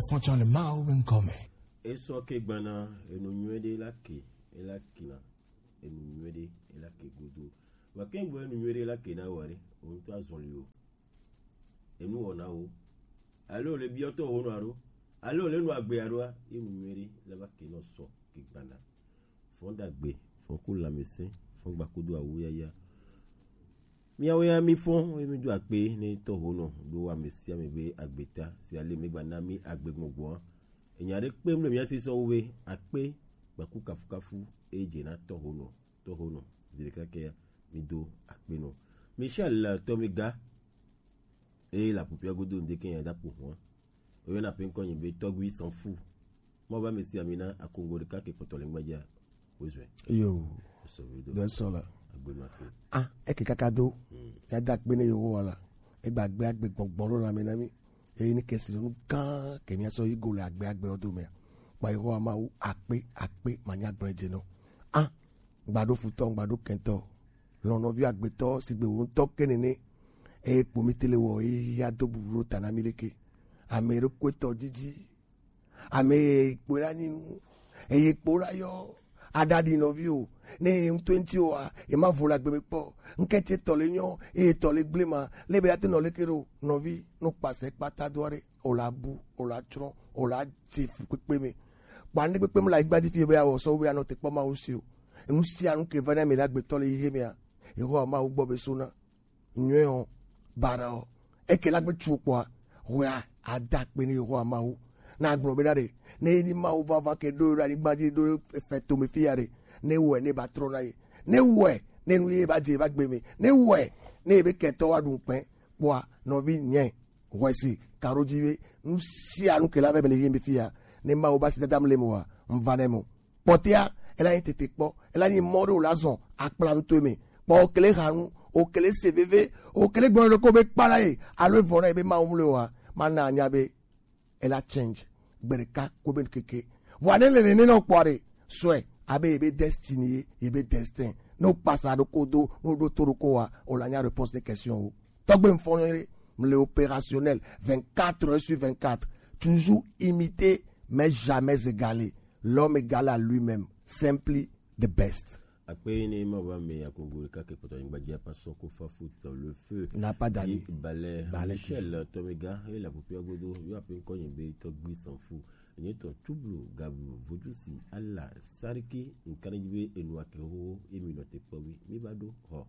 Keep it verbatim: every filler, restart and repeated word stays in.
Fɔtsɔ le Mawu be ŋkɔ me. Esɔ ke gbana enu nyuie ɖe la ke, ela kina enu nyuie ɖe ela ke godo. Wa ke gbɔ enu nyuie ɖe la ke na wa ɖe, o ŋutɔ azɔli o. Enu wɔna wo. Alo le biɔtɔ wo nɔ alo. Alo le nu agbe alo a, enu nyuie ɖe la va ke nɔ sɔ ke gbana. Fɔn ɖagbe, fɔn ku lãmesẽ, fɔn gbakudo awu yaya. Miawo ya mi fɔn, ye mi do akpe ne tɔho nɔ ɖo ame sia ame be agbeta si ale mi gba na mi agbe gbɔngbɔn. Enya ɖe kpe mle mia si sɔ wo be akpe gbaku kafukafu e dze na tɔho nɔ, tɔho nɔ. Zi ɖeka ke ya mi do akpe nɔ. Michel tɔ mi ga. Eye le aƒuƒua godo ŋdeke nya da ƒo hɔn. Woyɔna ƒe ŋkɔ nyi be Tɔgbi Sanfu. Mɔ va mesi amina akongo ɖeka ke kpɔtɔ le ŋgbadza. Wezɔe. Yo. Sɔvido. Dɔ sɔ la. Agbenu afi. Ah, eke kaka do. Hmm. Ya da akpe ne Yehowa la. Egba gbe agbe gbɔngbɔn ɖo lãme na mi. Eye ne kesi ɖo nu gã ke mia sɔ yi go le agbe agbe wo do mea. Kpa Yehowa Mawu akpe akpe manya gblẽ dze nɔ. Ah, ŋgba ɖo futɔ, ŋgba ɖo kɛntɔ. Lɔnɔvi agbetɔ sigbe wò ŋutɔ ke nene. Eye kpo mi tele wɔ, eye ya do bubu ɖo ta na mi leke. Ame ɖokpe tɔ didi. Ame ye kpo la nyi nu. Eye kpo la yɔ. Aɖaɖi nɔvi o. Ne ye ŋutɔ ŋuti o a, ye ma vo le agbe me kpɔ. Ŋkɛntse tɔ le nyɔ, eye tɔ le gble ma. Le be ya te nɔ leke ɖo, nɔvi, no kpasɛ kpata do aɖe. O la bu, o la tsrɔ̃, o la dze fukpekpe me. Kpa ne kpekpe me le anyigba dzi fi be awɔ sɔ be anɔ te kpɔ Mawu si o. Enu sia nu ke va na mi le agbetɔ le xexe mea, Yehowa Mawu gbɔ be sona. Nyuie o, bara o. Eke la gbe tsu kpɔa, hwea, ada akpe ne Yehowa Mawu. Na agblɔ be na ɖe, ne ye ni Mawu vava ke ɖo ɖe anyigba dzi ɖo efe to me fi ya ɖe, ne wɔe ne ba trɔ na ye. Ne wɔe ne nu ye ba dze ba gbe me. Ne wɔe ne ye be kɛtɔ wa ɖu kpɛ kpɔa, nɔvi nyɛ. Hwesi, karo dzi be, nu sia nu ke la vɛ me le yem be fia, ne Mawu ba si dada mle mo wa, mva ne mo. Kpɔtea, ela nyi tete kpɔ, ela nyi mɔ ɖe wòle azɔ akpla nuto me. Kpɔ wòkele ha nu, wòkele se veve, wòkele gblɔ ɖe ko be kpa na ye, alo evɔ na ye be Mawu mle wa, mana anya be ela change. Gbe ɖeka ko be keke. Vɔa ne le nene nɔ kpɔ ɖe, sɔe, abe yebe destiny ye, yebe destin. Ne wòkpasa ɖo ko do, ne wòɖo to ɖo ko wa, wòle anya réponse ne question wo. Tɔgbe mfɔnɔ ye, mle opérationnel, vingt-quatre heures sur vingt-quatre. Toujours imité, mais jamais égalé. L'homme égal à lui-même. Simply the best. Akpe ne ma va me akogo ɖeka ke kpɔtɔ anyigba dzi apa sɔ ko fa foot le feu. N'a pas d'amis. Balɛ. Balɛ Michel Tomiga, e la popia godo, yo ape ŋkɔ nyi be Tɔgbi Sanfu. Enye tɔ Tublu, Gabu, Vodusi, Ala, Sariki, ŋkana dzi be enu ake ho, emi nɔ te kpɔ wi. Mi va ɖo, hɔ.